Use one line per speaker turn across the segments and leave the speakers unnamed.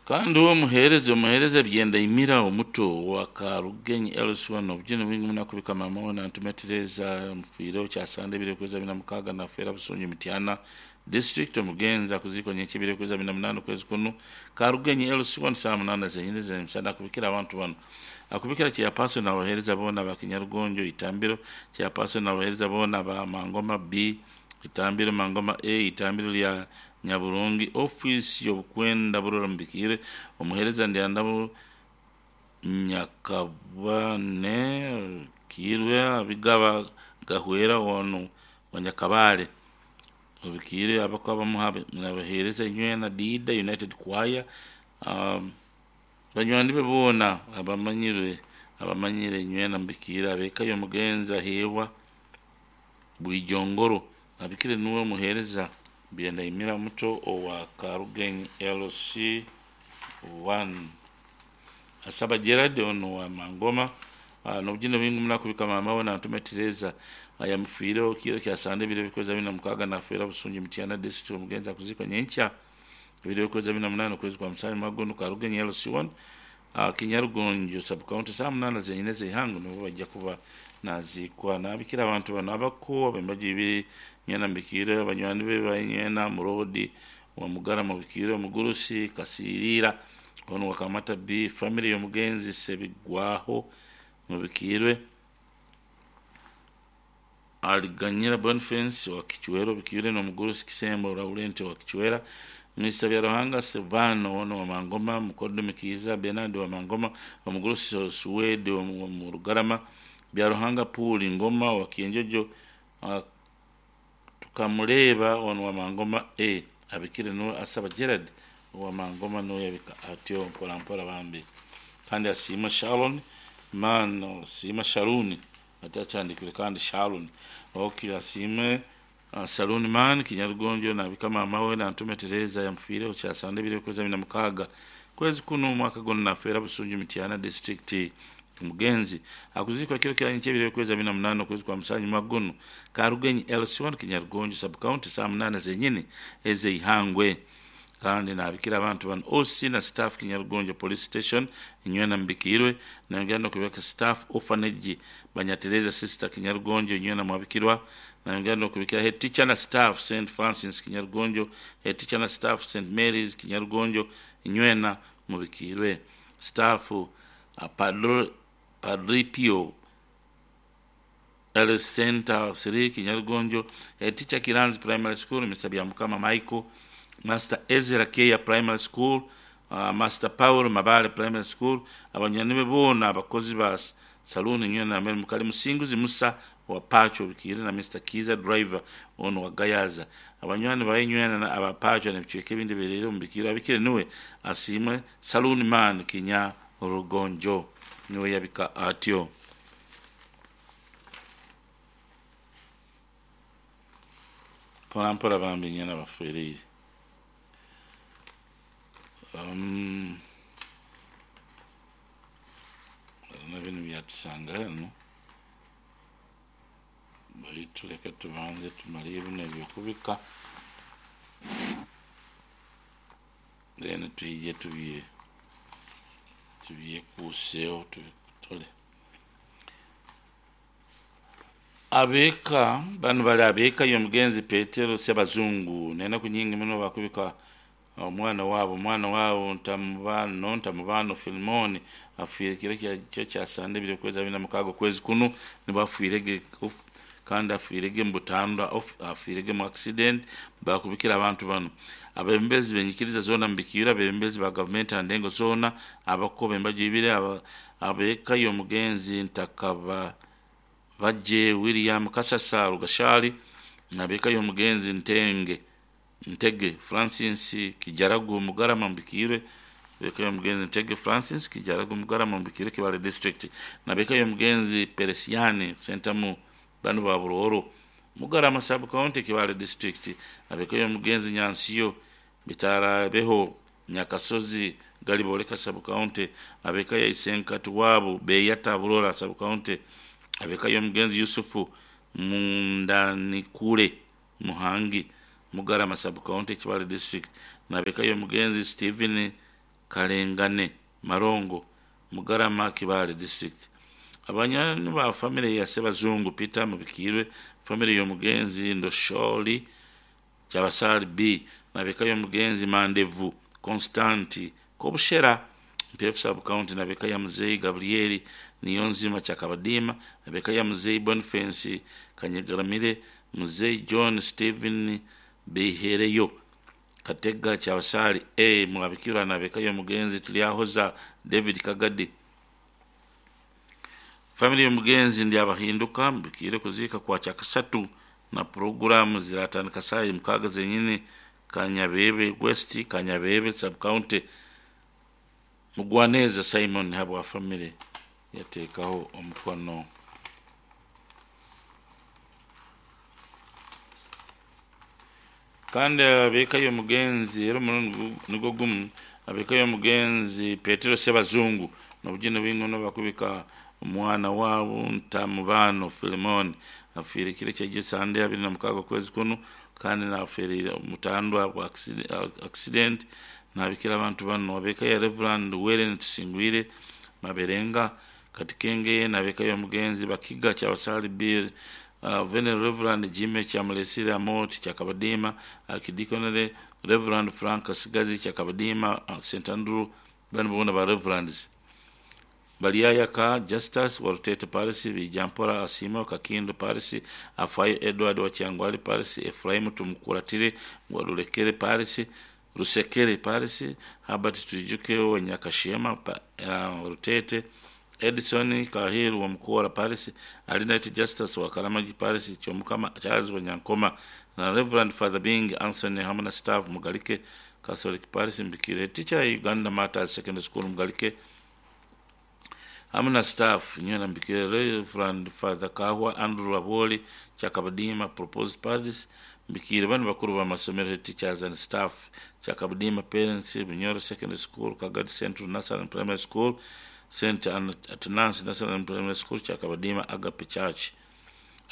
Kandi uwe omuheereza omuheereza Byendaimira omuto owa Karugenyi LC1 obujune bwingi muno akubika maama we Nantume Tereza omufiireho kyasande ebiro ekwezi abiri na mukaaga nafeera Busunju Mityana District omugenzi akuziikwa nyenkya ebiro ekwezi abiri na munaana okwezi kunu Karugenyi LC1 saaha munaana zenyini ezemisana akubikira abantu banu akubikira Chairperson nabaheereza boona aba Kinyarugonjo Itambiro Chairperson nabaheereza boona aba Mangoma B Itambiro Mangoma A Itambiro lya Nyaburungi Ofiisi y'obukwenda Burora Mubikiire Omuheereza Ndyandabo Nyakabane Kiirwe Abigaba Gahwera onu wa Nyakabale Obikiire abako abamuha nabaheereza inywena Diida United Choir Banywani be boona abamanyirwe abamanyire inywena Mubikiire ab'eka y'omugenzi Aheebwa Bwijongoro Abikire nuwe omuheereza Byendaimira muto owa Karugenyi LC I. Asaba Gerald onu wa Mangoma n'obujune bwingi muno akubika maama we Nantume Tereza ayamufiireho kiro kya Sande ebiro ebikwezi abiri na mukaaga nafeera Busunju Mityana District omugenzi akuziikwa nyenkya ebiro ebikwezi abiri na munaana okwezi kwa Musanju mwaka gunu Karugenyi LC I Kinyarugonjo Sub County saaha munaana zenyine ez'eihangwe nibwo baija kuba naziikwa. Nabikira abantu banu abako ab'embaju ibiri nywena mbikiire abanywani be ba nywena Muroodi wa Mugarama obikiire omugurusi Kasiiriira onu wa Kamata B family y'omugenzi Sebigwaho mubikiirwe Aliganyira Boniface wa Kichwera obikiire n'omugurusi Kisembo Laurent wa Kichwera Mister Byaruhanga Silvano ono wa Mangoma Mukodomi Kiiza Bernard wa Mangoma omugurusi Suwede wa Murugarama Byaruhanga Pool Ngoma wa Kienjojo Tukamureeba ono wa Mangoma A abikire nuwe Asaba Gerard owa Mangoma nuwe yabika atyo mpora mpora bambi kandi asiima Sharon man asiima Sharuni ati akyandikire kandi Sharon ok asiime Saloon man Kinyarugonjo nabika maama we Nantume Tereza yamufiireho kyasande ebiro ekwezi abiri na mukaaga kwezi kunu omwaka gunu nafeera Busunju Mityana District omugenzi akuziikwa kiro kya nyenkya ebiro ekwezi abiri na munaana okwezi kwa Musanju mwaka gunu Karugenyi LC1 Kinyarugonjo Sub County saaha munaana zenyini ez'eihangwe kandi nabikira abantu banu OC na staff Kinyarugonjo Police Station inywena mubikiirwe nayongera n'okubika staff Orphanage Banyatereza Sister Kinyarugonjo inywena mwabikirwa nayongera n'okubikira head teacher na staff St Francis Kinyarugonjo head teacher na staff St Mary's Kinyarugonjo inywena mubikiirwe staff Padre Padre Pio Health Center 3 Kinyarugonjo head teacher Kiranzi Primary School Mr Byamukama Michael Master Ezra Keya Primary School Master Paul Mabale Primary School abanywani be boona abakozi ba Saloon nywena nambere mukali Musinguzi Musa owa Pacho obikiire na Mister Kiiza Driver onu wa Gayaza abanywani baye nywena aba Pacho n'ebicweka ebindi ebihereire omu bikiire abikire niwe Asiimwe Saloon Man Kinyarugonjo niwe yabika atyo. Mpora mpora bambi nywena bafereire. Um, binu byatusanga hanu baitu leka tubanze tumale binu ebyokubika then twije tubye tubyekuuseho tubitole. Ab'eka banu bali ab'eka y'omugenzi Petero Sebazungu n'enaku nyingi muno bakubika omwana waabo omwana waabo Ntamubano Ntamubano Filimoni afiire kiro kya kya Sande ebiro okwezi abiri na mukaaga okwezi kunu nibwo afiirege kandi afiirege mu butandwa afiirege mu accident bakubikira abantu banu abebembezi b'enyikiriza zoona mubikiire abebembezi ba gavumenti aha ndengo zoona abako b'embaju ibiri ab'eka y'omugenzi Ntakaba Bagye William Kasasa Rugashari ab'eka y'omugenzi Ntenge Ntege Francis Kijaragu Mugarama Mubikiire ab'eka y'omugenzi Ntege Francis Kijaragu Mugarama Mubikiire Kibaale District n'ab'eka y'omugenzi Peresiani Sentamu banu ba Burooro Mugarama Sub County Kibaale District ab'eka y'omugenzi Nyansiyo Bitarabeho Nyakasozi Galiboleka Sub County ab'eka ya Isenkati waabo Beyata Burora Sub County ab'eka y'omugenzi Yusufu Mundanikure Muhangi Mugarama Sub County Kibaale District n'ab'eka y'omugenzi Stephen Kalengane Marongo Mugarama Kibaale district. Abanywani ba famire ya Sebazungu Peter Mubikirwe, famire y'omugenzi Ndosholi Kyabasali B nabeka y'omugenzi Mandevu Constanti Kobushera MPF sub county, nabeka ya Muzeyi Gabrieli Niyonzima Kyakabadima, nabeka ya Muzeyi Boniface Kanyegaramire, Muzeyi John Stephen Bihereyo Katega Kyabasali A Mwabikirwa, nabeka y'omugenzi Tulyahoza David Kagadi. Family y'omugenzi Ndyabahinduka mbikire kuziika kwa Kyakasatu na puroguramu ziratandika saa 6 zenyini Kanyabebe West, Kanyabebe sub county. Mugwaneza Simon habwa family yateekaho omukono. Kandi abeka y'omugenzi era omurundi nigwo gumu abeka y'omugenzi Petero Sebazungu nobugine bwingono bakubika omwana waabo Ntamubano Filimon afiire kiro ky'egyo Sande 26 okwezi kuno, kandi nafiirire mutandwa bwa accident. Nabikira abantu bano: abeka ya Reverend Wellen Tusingwire Maberenga Katikenge, nabeka y'omugenzi Bakiga Kyabasali Bill, Venerable Reverend Jimmy Kyamulesire Amoti Kyakabadima Archdeaconry, Reverend Frank Sigazi Kyakabadima, St Andrew. Bano bona ba Reverends. Baliayaka Justus wa Rutete Paris, Bijampora Asimo Kakindo Paris, Afayo Edward wa Kyangwali Paris, Efraimu Tumukuratire wa Rulekere Paris, Rusekere Paris, Herbert Twijuke wa Nyakashema Rutete, Edison Kahiru wa Mukura Paris, Alinette Justus wa Karamagi Paris, Chomukama Charles wa Nyankoma na Reverend Father Bing Anthony hamwe na staff Mugalike Catholic Paris. Mbikire teacher Uganda Martyrs Secondary School Mugalike hamwe na staff nywena. Mbikire Reverend Father Kahwa Andrew Aboli Kyakabadima Proposed Paris. Mbikire bano bakuru b'amasomero, teachers and staff Kyakabadima, parents Bunyoro Secondary School, Kagadi Central National Primary School, St Athanasi National Primary School, Kyakabadima Agape Church.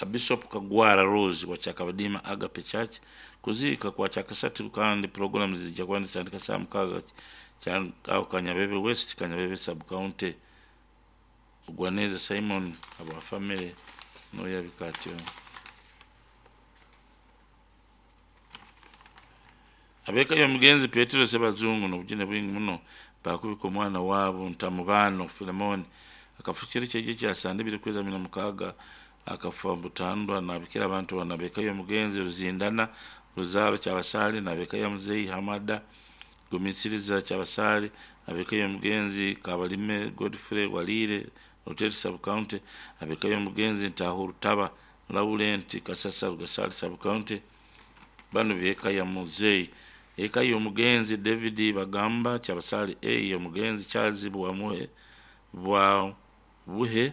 A Bishop Kagwara Rose wa Kyakabadima Agape Church. Kuziika kwa Kyakasatu kandi programs zijja kuba nizitandika saa 6 aho Kanyabebe West, Kanyabebe sub county. Mugwaneza Simon aba family noyabika atyo. Abeka y'omugenzi Petero Sebazungu nobugine bwingi muno bakubika omwana waabo Ntamubano Filemon akafa kiro kyegyo kya Sande 2026 akafa butandwa. Nabikira abantu bano: abeka y'omugenzi Ruzindana Ruzaro Kyabasali, nabeka ya Muzeyi Hamada Gumisiriza Kyabasali, abeka y'omugenzi Kabalime Godfrey Walire Rutete sub county, abeka y'omugenzi Ntahurutaba Laurent Kasasa Rugasali sub county. Bano beka ya Muzeyi. Eka y'omugenzi David Bagamba Kyabasali A, y'omugenzi Charles Bwamuhe bwa Buhe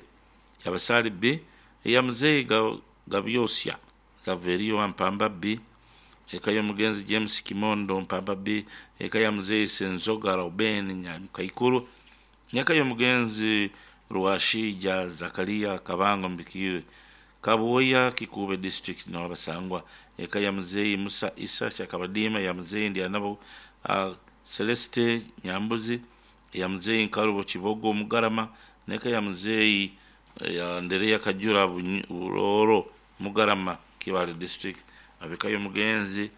Kyabasali B, eya Muzeyi Gabyosya Zaverio wa Mpamba B, eka y'omugenzi James Kimondo Mpamba B, eka ya Muzeyi Senzoga Ruben Nyamukaikuru, n'eka y'omugenzi Rwashija Zakaria Kabango. Mbikire Kabuoya Kikube district nabasangwa. Eka ya Muzeyi Musa Isa Kyakabadima, ya Muzeyi Ndyanabo Celeste Nyambuzi, ya Muzeyi Nkarubo Kibogo Mugarama, neka ya Muzeyi ya Ndereya Kajura Buroro Mugarama Kibale district. Abeka y'omugenzi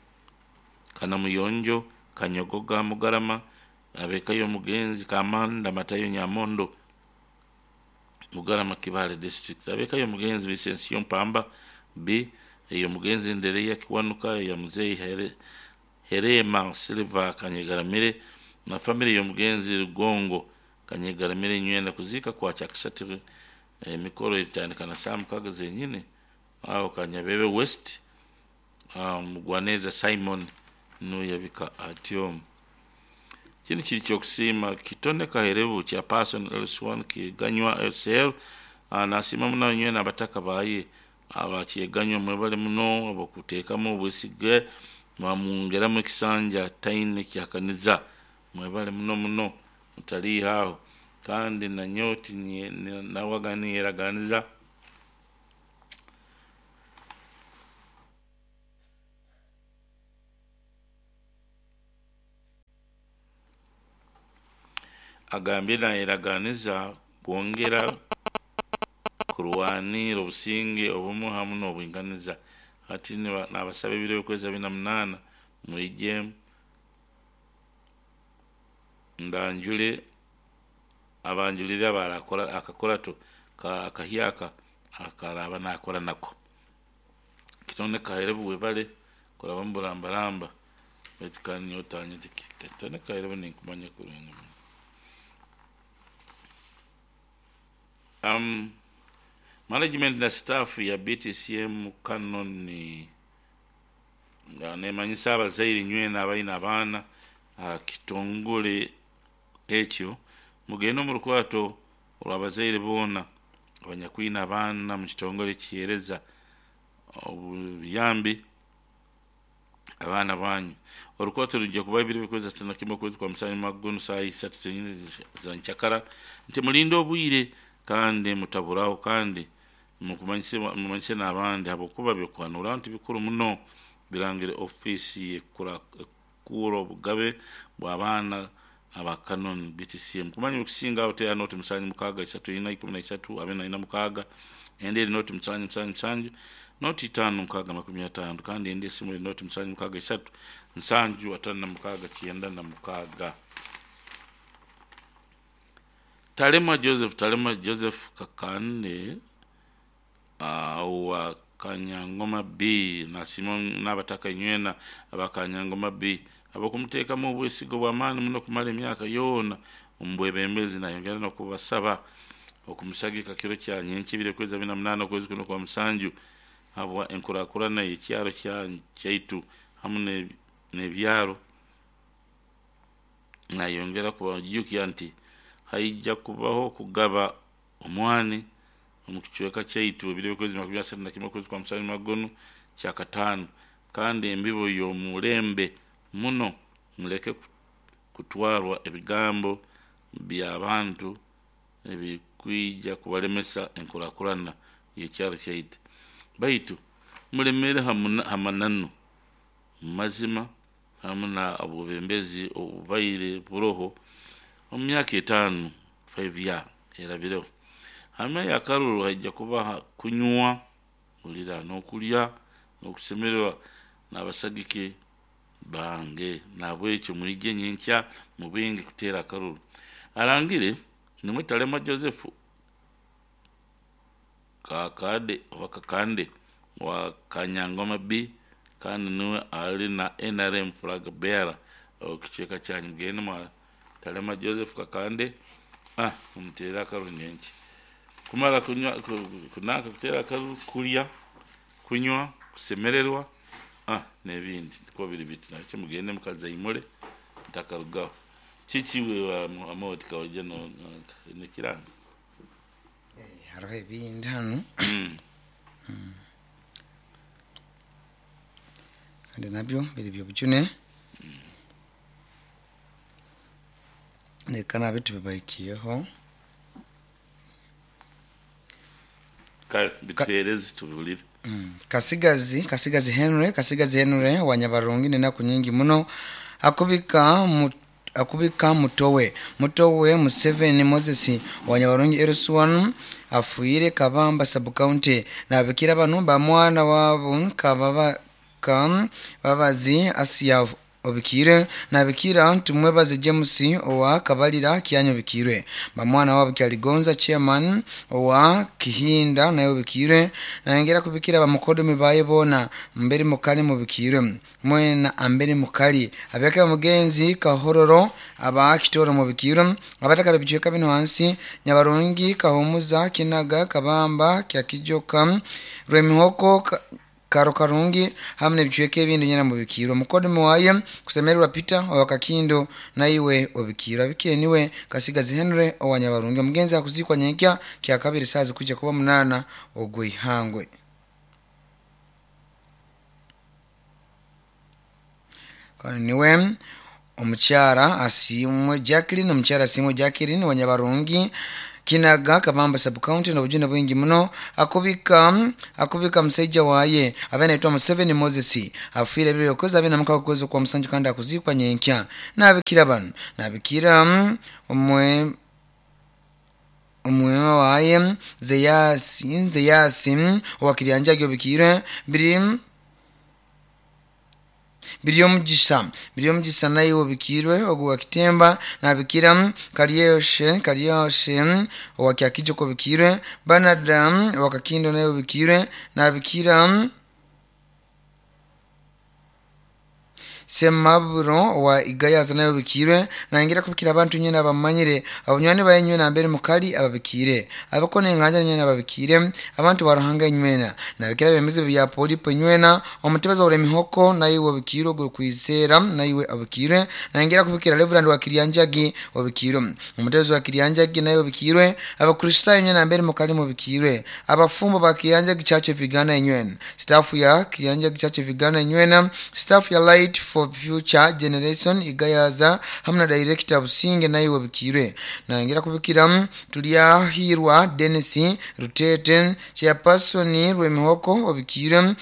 Kanamuyonjo Kanyogoga Mugarama, abeka y'omugenzi Kamanda Matayo Nyamondo Mugarama Kibale district, abeka y'omugenzi Vicencio Mpamba B, eyo mugenzi Ndereya Kiwanuka, ya Muzeyi Herema Silva Kanyegaramire na family y'omugenzi Rugongo Kanyegaramire nywena. Kuziika kwa Kyakasatu, emikoro etandika na saa 6 zenyine aho Kanyabebe West. Mugwaneza Simon nuyabika atyo. Kino kiri kyokusiima Kitone Kaherebu kya Person Ls1 Kiganywa SL. Nasiima muno nywena abataka baye abakyeganywa, mwebale muno abakuteekamu obwesige mwamwongeramu ekisanja taine kyakaniza. Mwebale muno muno mutaliiho aho kandi nanyoti nawaga niyeraganiza. Agambire nayeraganiza kwongera kurwanira obusinge, obumwe hamu n'obwinganiza. Hati nabasaba ebiro by'okwezi 28 mwije mbanjule abanjulire abarakora akakurato akahyaka akaraba nakora nako. Kitone kaherebu webale kuraba muburambaramba baitu kandi nyowe otanyeta kitone kaherebu ninkumanya kurungi muno. Management na staff ya BTCM Canon nemanyisa abazaire nywena abaine abaana aha kitongore ekyo mugende omu rukwato orw'abazaire boona abanyakwine abaana omu kitongore ekiheereza obuyambi abaana banyu. Orukwato rwija kuba ebiro by'okwezi 31 okwezi kwa musanju omwaka gunu saaha isatu zenyini za nkyakara nti mulinde obwire kandi mutaburaho kandi mumanyise n'abandi habwokuba by'okuhanuraho nti bikuru muno birangire ofiisi y'ekukura obugabe bw'abaana aba Canon BTCM. Kumanya ebikusinga aho teera noti 7 6 4 13 46 endi eri noti 7 7 7 noti 5 6 50 kandi endi esimu eri noti 7 6 3 7 56 96. Talema Joseph Talema Joseph Kakande owa Kanyangoma B nasiima n'abataka inywena aba Kanyangoma B habw'okumuteekamu obwesigo bw'amaani muno kumara emyaka yoona omu bwebembezi nayongera n'okubasaba okumusagika kiro kya nyenkya ebiro ekwezi 28 okwezi kuno kwa musanju habwa enkurakurana y'ekyaro kyaitu hamu n'ebyaro. Nayongera kubajukya nti haija kubaho kugaba omwani omu kicweka kyaitu ebiro by'okwezi 31 okwezi kwa musanju omwaka gunu kyakataano kandi embibo y'omulembe muno muleke kutwarwa ebigambo by'abantu ebikwija kubalemesa enkurakurana y'ekyaro kyaitu baitu mulemere ha mananu mazima hamu na obwebembezi obubaire buroho omu myaka 5 5 year erabireho. Hanyuma y'akaruru haija kuba kunywa hulira n'okulya n'okusemererwa n'abasagiki bange nahabwekyo mwije nyenkya mubingi kuteera akaruru. Arangire nimwe Talema Joseph Kakande oba Kakande wa Kanyangoma B kandi niwe ali na NRM flag bearer okicweka kyanyu mugende mwa Talema Joseph Kakande mumuteere akaruru nyenkya. Kumara kunywa kunanka kuteera akaruru kulya kunywa kusemererwa n'ebindi nikwo biri biti nakyo mugende mukazaimure mutakarugaho. Kiki iwe Amooti kaija nekiranga?
Hariho ebindi hanu kandi nabyo biri by'obujune reka nabi tubibahikiyeho.
Kale bituhereze tubihulire.
Kasigazi Kasigazi Henry Kasigazi Henry wa Nyabarungi n'enaku nyingi muno akubika akubika mutowe mutowe Museveni Moses wa Nyabarungi Eruswan afuire Kabamba sub county nabikira banu ba mwana wabo kababa Babazi Asia obikire nabikira Tumwebaze James owa Kabalira Kyanyo obikirwe bamwana wabo Kyaligonza chairman owa Kihinda naye obikirwe nayongera kubikira bamukodomi baye bona mbere mukali mubikirwe mwena ambere mukali abeka mugenzi Kahororo aba Kitoro mubikirwe abataka bibicweka bino hansi Nyabarungi Kahumuza Kinaga Kabamba Kyakijoka Rwemihoko Karo Karungi hamwe n'ebicweka ebindi nyina mubikirwe mukodomi waye kusemererwa Peter owa Kakindo naiwe obikirwe abikeniwe Kasigazi Henry owa Nyabarungi omugenzi akuzikwa nyenkya kya kabiri saazi kuja kuba 8 ogw'ihangwe. Kandi niwe omukyara Asiimwe Jacqueline omukyara Asiimwe Jacqueline wa Nyabarungi Kinaga Kabamba sub-county n'obujune bwingi muno akubika akubika musaija waye abe naitwa Museveni Moses afiire ebiro byokwezi 26 okwezi kwa musanju kandi akuzikwa nyenkya. Nabikira bano nabikira omwe omwewa waye Zeyasi Zeyasi owakiryanjagi obikire biri Biryomugisha naye obikirwe ogu wakitemba nabikira Karyoshe Karyoshe owakyakijoko obikirwe Bernard wakakindo naye obikirwe nabikira Semaburo wa Igayaza naye obikirwe nangira kubikira abantu nyene abamanyire abunywani bayenywe nambere mukali ababikire abakone enganja nyene ababikire abantu baruhanga nywena nabikira bemeze bya polipo nywena omutebaza ore mihoko naye obikirwe go kwizera naye abikire nangira kubikira Reverend wa Kiryanjagi obikirwe umutebaza wa Kiryanjagi naye obikirwe abakristayo nyene nambere mukali mubikirwe abafumbo ba Kiryanjagi Church of Uganda nywena staff ya Kiryanjagi Church of Uganda nywena staff ya Light for Future Generation Igayaza hamwe na director Businge naye wabikirwe nangira kubikira Tulyahirwa Dennis Rutete chairperson Rwemihoko obikirwe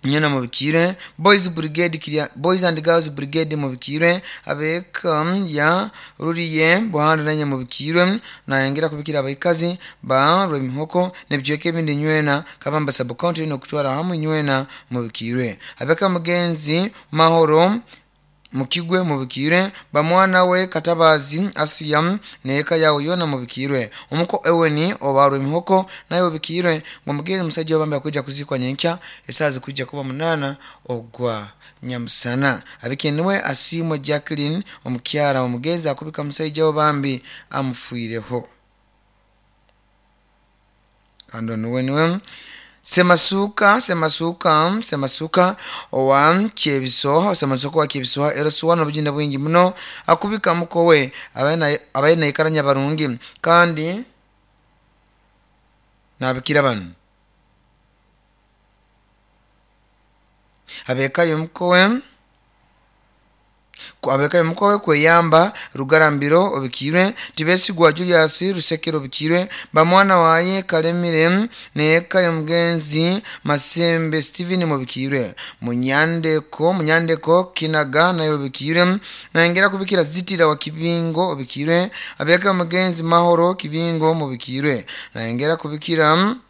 nyana mubikire Boys Brigade Kirya Boys and Girls Brigade mubikire abeka ya ruriye buhanda nanye mubikire nangira kubikira abaikazi ba Rwemihoko nebyeke ebindi nywena Kabamba sub county no kutwara hamwe nywena mubikire abeka mugenzi Mahoro Mukigwe mubikire bamwana we Katabazi Asiya neka yawo yona mubikirwe omuko eweni obarwe mihoko naye mubikirwe ngo mugenzi musajja obambe akujja kuzikwa nyenkya esazi kujja kuba 8 ogwa nyamusana abikenwe Asimwe Jacqueline omukyara omugenzi akubika musajja obambi amufuireho kando nuwe Semasuka Semasuka Semasuka owa Kyebisoha Semasuka wa Kyebisoha erasuwa n'obujinda bwingi muno akubika mukowe abaye naikaranya barungi kandi nabikira bano abekayo mukowe abekayo mukowe kweyamba Rugarambiro obikirwe Tibesigwa Julius Rusekero obikirwe bamwana waye Kalemire neka yomugenzi Masembe Steven mubikirwe Munyandeko Kinaga nayo obikirwe nangera kubikira Zitira wa Kibingo obikirwe abeka mugenzi Mahoro Kibingo mubikirwe nangera kubikira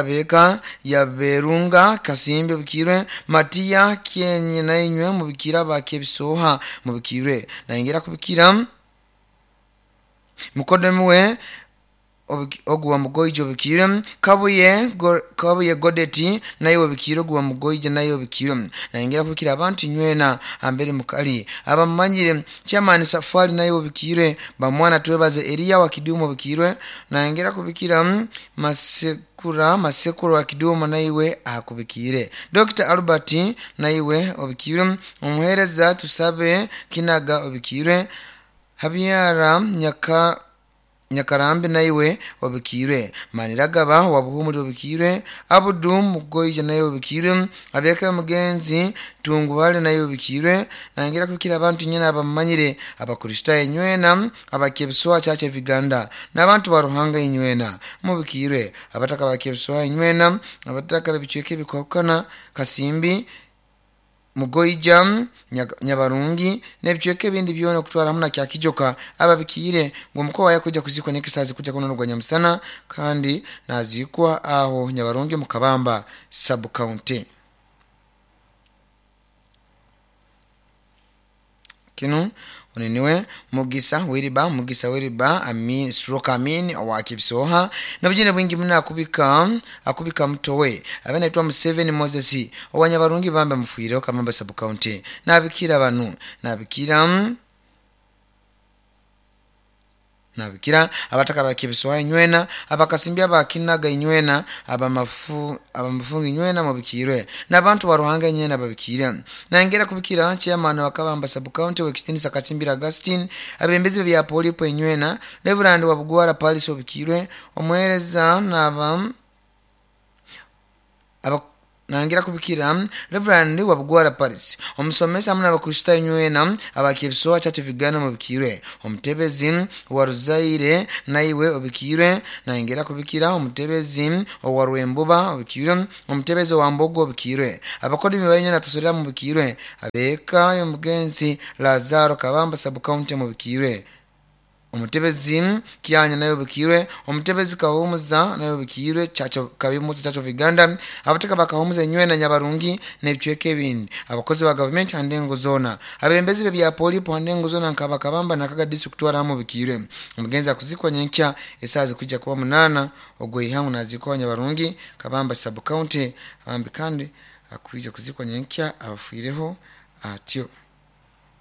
beka ya Berunga Kasimbe bukirwe Matia Kenye na inywe mubikira ba Kyebisoha mubikirwe nangera kubikira Mukodemwe oguwa mugoije obikirwe Kabuye Godeti naye obikirwe oguwa mugoije naye obikirwe nangera kubikira abantu nywena ambere mukali abamanyire Chairman Safari naye obikirwe bamwana twebaze Elia wa Kidumo obikirwe nangera kubikira Masekura wa Kidumo naiwe akubikire Dr. Albert naiwe obikirwe omuhereza tusabe Kinaga obikirwe Habyara Nyakarambi naiwe obikirwe Maniragaba wabuhumuri obikirwe Abudu Mugoije naye obikirwe abeka mugenzi Tunguhale naye obikirwe nangira kubikira abantu nyene abamanyire abakristayo nywena abakyebisoha Church of Uganda n'abantu baruhanga inywena mubikirwe abataka bakyebisoha inywena abataka bibicweke bikwakana Kasimbi Mugoija Nyabarungi nebicweke ebindi byona okutwara hamwe na Kyakijoka ababikire ngo muko yakuja kuzikwa nekisazi kuja kuno rwa nyamusana kandi nazikwa aho Nyabarungi mu Kabamba sub county kinu oneniwe Mugisa Wiriba Amin stroke Amin wa Kibsoha nabujine bwingi muna akubika mutowe abana itwa Museveni Moses owanyabarungi bambe mufuire Kabamba sub county nabikira banu nabikira abataka bakibiswa inywena abakasimbya bakinaga inywena abamafungu inywena mubikirwe nabantu baruhanga inywena babikire nangera kubikira chairman wa Kabamba sub county wekitinisa Kachimbira Augustine abembezi bya polipo inywena Reverend wa Bugwara Paris obikirwe omuhereza Nangira kubikira Reverend Wabugwara Paris, omusomesa hamwe n'Abakristaayo nywena aba Kyebisoha Church of Uganda mubikirwe. Omutebezi wa Ruzaire naiwe obikirwe. Nangira kubikira omutebezi owa Rwembuba obikirwe. Omutebezi owa Mbogo obikirwe. Abakodimi bainywena tasorera mubikirwe. Abeeka y'omugenzi Lazaro Kabamba sub county mubikirwe. Omutebezi Kyanya naye obikirwe. Omutebezi Kahumuza naye obikirwe, Church of, Kabimuza Church of Uganda. Abateka bakahumuza enywena Nyabarungi n'ebicweka ebindi. Abakozi ba gavumenti handengo zoona. Abembezi b'ebya polipo handengo zoona nka Bakabamba na Kaga district kutwara mubikirwe. Omugenzi akuzikwa nyenkya esaaha zikwijja kuba 8 ogweihangu, nazikwa Nyabarungi, Kabamba sub county. Bambi kandi akwija kuzikwa nyenkya abafiireho atyo.